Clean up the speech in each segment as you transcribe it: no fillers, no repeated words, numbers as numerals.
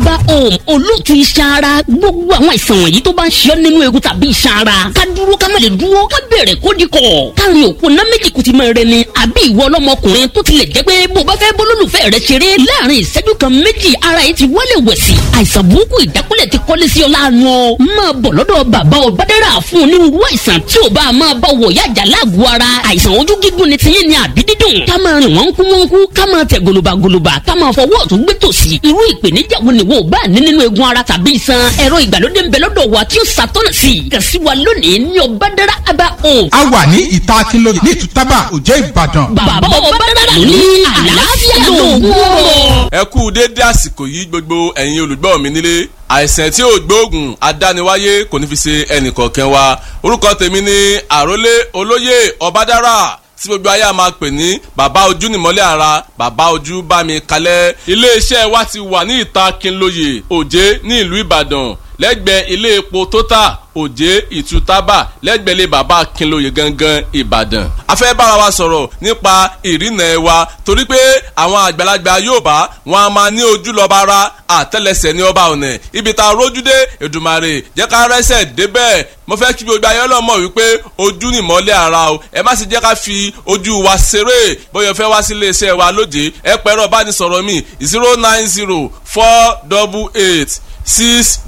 Aba Home, olóòtú iṣan ara. Gbogbo àwọn àìsàn wọ̀nyí tó bá ń ṣe ọ́ nínú egun tàbí iṣan ara, ká dúró ká má lè dúró, ká bẹ̀rẹ̀ kó di kọ̀, káàrin òkú ná méjì kùtì máa rẹ ni. Àbí ìwọ ọlọ́mọkùnrin tó tilẹ̀ jẹ́ pé bó bá fẹ́ bólólùfẹ́ rẹ ṣeré láàrin ìṣẹ́jú kan méjì, ara yìí ti wálé wẹ̀sì. Àìsàn burúkú ìjákulẹ̀ ti kọ́lé sí ọ láàánú ọ. Máa bọ̀ lọ́dọ̀ bàbá Ọbádára fún onírúurú àìsàn tí ò bá máa bá wọ̀ yájà láàgọ̀ ara. Àìsàn ojú gígùn ni tiyín ni àbí dídùn, ká máa rìn wọ́n kú wọ́n kú, ká máa tẹ̀ gòlòbàgòlòbà, ká máa fọwọ́ ọ̀tún gbé tòsì. Irú ìpèníjà wo ni wo bá ní nínú egun ara tàbí iṣan? Ẹ̀rọ ìgbàlódé ń bẹ lọ́dọ̀ wa tí ó ṣàtọ́nà sí i. Kàn sí wa lónìí ní Ọbádára Aba Home. A wà ní ìta Akínlóye ní Ìtútàbà, Òjé, Ìbàdàn. Bàbá Ọbádára ló ní àlàáfíà lóògùn ọ̀rọ̀. Ẹ kú déédé àsìkò yìí, gbogbo ẹ̀yin olùgbọ́ mi nílé. Àìsàn tí ò gbóògùn adániwáyé kò ní fi ṣe ẹnìkọ̀ọ̀kan wa. Orúkọ tèmi ni Àrólé Olóyè Ọbádára, tí gbogbo ayé a máa pè ní Bàbá Ojú Nìmọ́lẹ̀ Ara, Bàbá Ojú Bá Mi Kalẹ̀. Iléeṣẹ́ wa ti wà ní ìta Kínlóye, Òjé, ní ìlú Ìbàdàn, lẹ́gbẹ̀ẹ́ ilé epo Total, Òjé Ìtútàbà, lẹ́gbẹ̀ẹ́ ilé bàbá Kínlóye gangan, Ìbàdàn. A fẹ́ bára wa sọ̀rọ̀ nípa ìrìnà ẹ̀ wa, torí pé àwọn àgbàlagbà Yorùbá wọn a máa ní ojú lọ́ba ara, àtẹ́lẹsẹ̀ ní ọba ọ̀nà. Ibi tá a rójú dé, Èdùmàrè jẹ́ ká rẹ́sẹ̀ débẹ̀. Mo fẹ́ kí gbogbo ayé ọlọ́mọ wípé ojú ni ìmọ́lẹ̀ ara o. Ẹ má sì jẹ́ ká fi ojú wa ṣeré. Bóyá fẹ́ wá sí iléeṣẹ́ wa lóde, ẹ pẹ̀rọ ìbánisọ̀rọ̀ mi: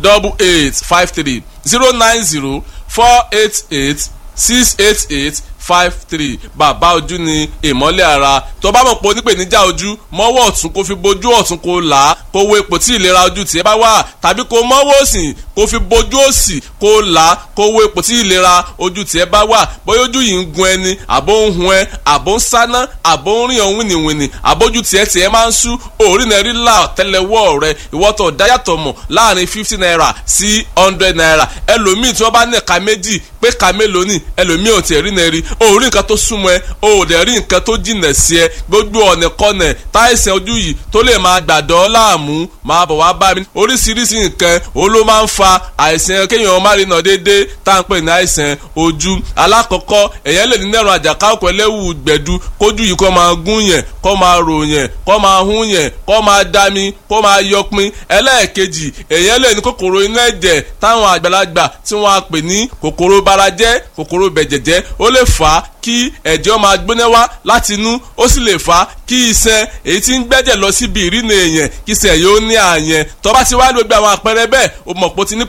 09048868853, 09048868853. Bàbá Ojú ni ìmọ́lẹ̀ ara. Tó bá mọ̀ pé onípèníjà ojú, mọ́wọ́ ọ̀tún kó fi bojú ọ̀tún, kó là á, kó wo ipò tí ìlera ojú tiẹ̀ bá wà, tàbí kó mọ́wọ́ òsì kó fi bojú òsì, kó là á, kó wo ipò tí ìlera ojú tiẹ̀ bá wà. Bóyá ojú yìí ń gun ẹni, àbó ń hun ẹ, àbó ń sáná, àbó ń rìn ọ̀hún wìnìwìnì, àbójú tiẹ̀ tiẹ̀ máa ń sú òórì náà rí là tẹ́lẹ̀wọ́ rẹ. Ìwọ́tọ̀ dáyàtọ̀ mọ̀ láàrin ₦50 sí ₦100. Ẹlòmíì tí wọ́n bá ní ẹ̀ka méjì pé ka mélòó ni, ẹlòmíì ò tiẹ̀ rí náà rí. O rí nǹkan tó súnmọ́ ẹ, o ò dẹ̀ rí nǹkan tó jìnà sí ẹ. Gbogbo ọ̀nà kọ́nà táìsàn ojú yìí tó lè máa gbàdọ́ láàmú, máa bọ̀ wá bá mi. Oríṣiríṣi nǹkan òun ló máa ń fa àìsàn kéèyàn má rí nà déédéé tá à ń pè ní àìsàn ojú. Alákọ̀ọ́kọ́, èèyàn lè ní nẹ̀rọ àjàká òkú ẹlẹ́wù gbẹ̀du, kójú yìí kó máa gún yẹn, kó máa rò yẹn, kó máa hún yẹn, kó máa dami, kó máa yọpin. Ẹlẹ́ẹ̀kejì, èèyàn lè ní kòkòrò inú ẹ̀jẹ̀ táwọn àgbàlagbà tí wọ́n á pè ní kòkòrò barajẹ́, kòkòrò bẹ̀jẹ̀jẹ́. Ó lè fà á kí ẹ̀jẹ̀ máa gbóná wá láti inú. Ó sì lè fà á kí iṣan èyí tí ń gbẹ́jẹ̀ lọ síbi ìrìnà èèyàn, kí iṣan yóò ní àyẹn. Tó bá ti wá gbogbo àwọn àpẹẹrẹ bẹ́ẹ̀, o mọ̀ pé o ti ní